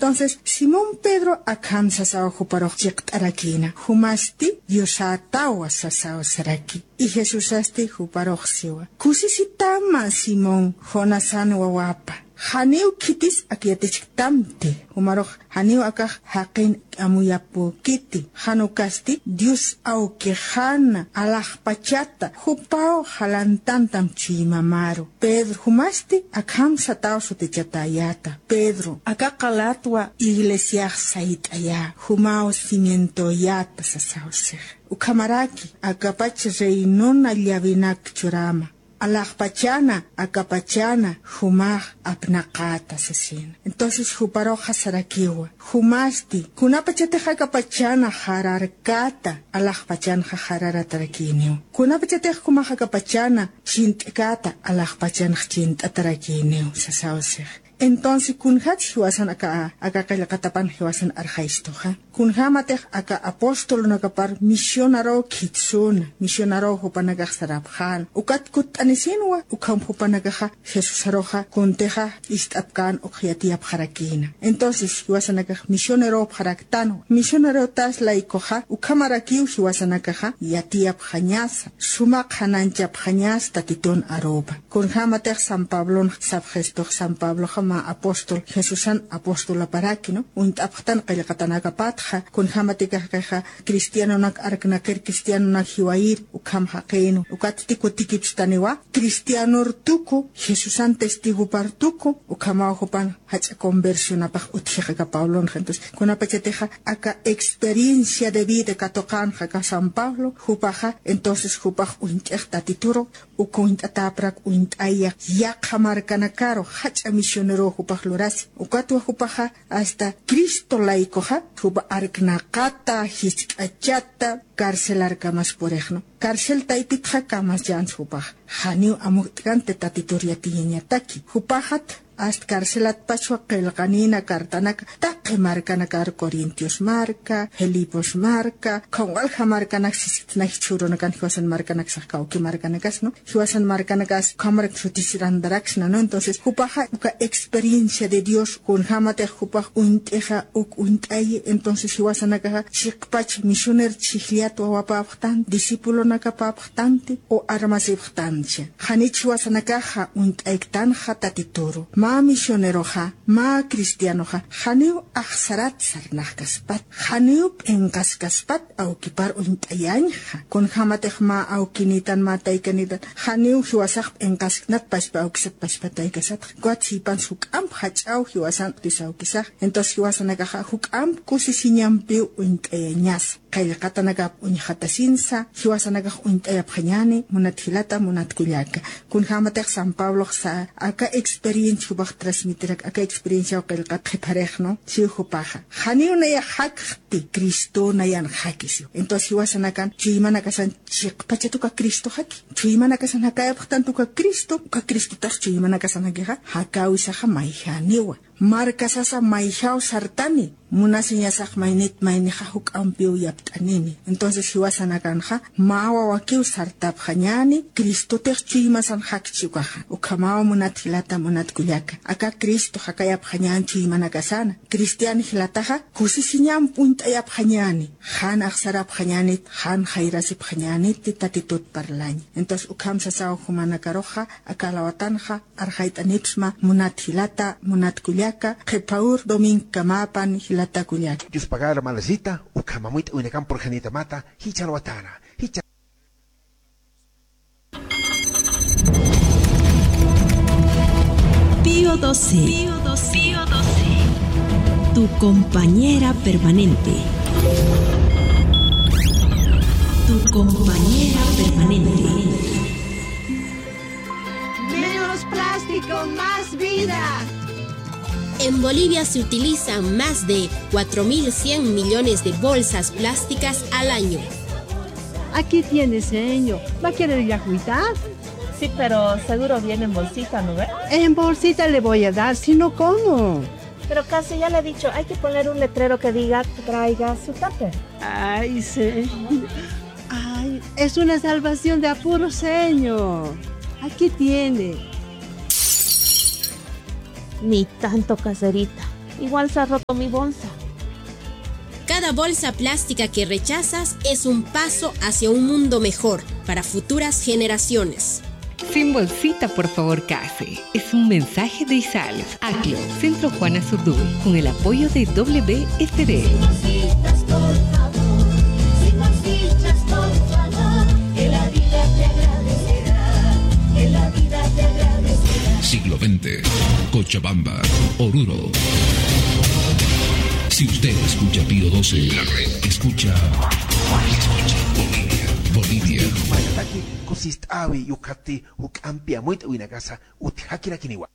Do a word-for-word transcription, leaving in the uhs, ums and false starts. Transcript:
Entonces, Simón Pedro akham sasaw juparux chiqt'arakïna, jumasti Diosätawa sasaw saraki. Y Jesusasti juparux siwa, kusisitama Simón, Jonasan wawapa. Janiw khitis ak yatichktamti, jumarux janiw akax jaqin amuyapukiti, jan ukasti Dios awkixana alaxpachata, jupaw jalantantam chuymamaru. Pedro, jumasti akham sataw sutichatäyäta. Pedro, aka qalatwa iglesiax sayt'ayä, jumaw cimientoyäta sasaw six. Ukhamaraki, akapach reinona llavinak churama. Alaxpachana, akapachana, jumax apnaqäta sasina. Entonces, juparuxa sarakiwa, jumasti, kunapachatix akapachana jararkäta, alaxpachanxa jararatarakïniw. Kunapachatix jumax akapachana chint'käta, alaxpachanx chint'atarakïniw, sasaw six. Entonces, kunjatsa jiwasan aka, aka qillqatapan jiwasan arxaystuxa. Kunjämatix aka apostolunakapar misionaruw khitsuna, misionaruw jupanakax sarapxän. Ukat kutt'anisinwa, ukham jupanakaxa Jesusaruxa kuntixa ist'apkän uk yatiyapxarakïna. Entonces, jiwasanakax misionerupxaraktanwa. Misionerutas laykuxa, ukhamarakiw jiwasanakaxa yatiyapxañasa, suma qhanañchapxañasa Tatitun arupa. Kunjämatix San Pablon sapxistux, San Pabloxa mä apóstol, Jesusan apostolaparaki, ¿no? Uñt'apxtan qillqatanakapatxa, kunjämatix akaxa cristianonak arknaqir, cristianonak jiwayir, ukham jaqïnu. Ukatsti kutikipstaniwa, cristianor tuku, Jesusan testigopar tuku, ukhamaw jupan jach'a conversionapax utjix aka Pablonxa. Entonces, kunapachatixa aka experiencia de vida katuqänxa aka San Pablo, jupaxa, entonces jupax uñt'ix Tatituru, uk uñt'atäprak uñt'ayax yaqha markanakaru, jach'a misioneruw jupax lurasi. Ukatwa jupaxa hasta Cristo laykuxa, jupa arknaqata, jisk'achata, carcelarkamas purix, ¿no? Carcel taypitxa kamas chans jupax. Janiw amukt'kanti Tatitur yatiyañataki. Jupaxat hasta carcelatpachwa qillqanïna cartanaka taqi markanakar, Corintios marka, Filipos marka, ukham walja markanak sisitna jichhürunakan jiwasan markanak sax kawki markanakas, ¿no? Jiwasan markanakas ukhamarak sutisirantaraksna, ¿no? Entonces, jupaxa uka experiencia de Dios, kunjämatix jupax uñt'ixa uk uñt'ayi, entonces jiwasanakaxa chiqpach misioner chhijllat wawapapxtan, discipulonakapapxtanti o armasipxtancha. Janich jiwasanakaxa uñt'ayktanxa Tatituru. Mä misioneroxa, mä cristianoxa, janiw axsarat sarnaxkaspat, janiw p'inqaskaspat awkipar uñt'ayañxa. Kunjämatix mä awkinitan, mä taykanitan, janiw jiwasax p'inqasknat pachpa awkisat, pachpa taykasatxa. Ukat sipans juk'amp jach'aw jiwasan utis awkisax. Entonces jiwasanakaxa juk'amp kusisiñampiw uñt'ayañasa. Qillqatanakap uñjatasinsa, jiwasanakax uñt'ayapxañäni, munat jilata, munat kullaka. Kunjämatix San Pablox sa, aka experiencia jupax transmitirak, aka experienciaw qillqat qhiparix, ¿no? Siw jupaxa. Janiw nayax jakxti, Cristo nayan jaki siw. Entonces, jiwasanakan, chuymanakasan chiqpachat uka Cristo jaki. Chuymanakasan jakayapxtanti uka Cristo, uka Cristotax chuymanakasan jakixa, jakäwisaxa mayjaniwa. Markasasa mayjaw sartani, munasiñasax maynit maynixa juk'ampiw yapt'anini. Entonces, jiwasanakanxa, mä wawakiw sartapxañäni, Cristotix chuymasan jakchi ukaxa. Ukhamaw munat jilata, munat kullaka. Aka Cristo jakayapxañän chuymanakasana. Cristian jilataxa, kusisiñamp uñt'ayapxañäni. Jan axsarapxañänit, jan jayrasipxañänit, Tatitut parlaña. Entonces, ukham sasaw jumanakaruxa, aka alawatanxa, arxayt'anipsma, munat jilata, munat kullaka, qhipa ur domingkamäpan jilata kullaka. Dios pagara, hermanasita, ukham amuyt'awinakamp purxanitamata, jichha alwatäna, jichha. Pío doce. Tu compañera permanente. Tu compañera permanente. Menos plástico, más vida. En Bolivia se utilizan más de cuatro mil cien millones de bolsas plásticas al año. Aquí tiene, señor. ¿Va a querer ya agüita? Sí, pero seguro viene en bolsita, ¿no ve? En bolsita le voy a dar, si no, ¿cómo? Pero casi ya le he dicho, hay que poner un letrero que diga, "Traiga su tupper". Ay, señor. Ay, es una salvación de apuro, señor. Aquí tiene. Ni tanto, Caserita. Igual se ha roto mi bolsa. Cada bolsa plástica que rechazas es un paso hacia un mundo mejor para futuras generaciones. Sin bolsita, por favor, case. Es un mensaje de ISAL, ACLO, Centro Juana Zurduy, con el apoyo de W S D. Sin bolsitas, por favor, sin bolsitas, por favor, que la vida te agradecerá, que la vida te agradecerá. Siglo veinte, Cochabamba, Oruro. Si usted escucha Pío doce, la red escucha, escucha Bolivia, Bolivia. Mayt'aki kusist'äwi, ukhati juk'ampi amuyt'äwinakasa utjakirakiniwa.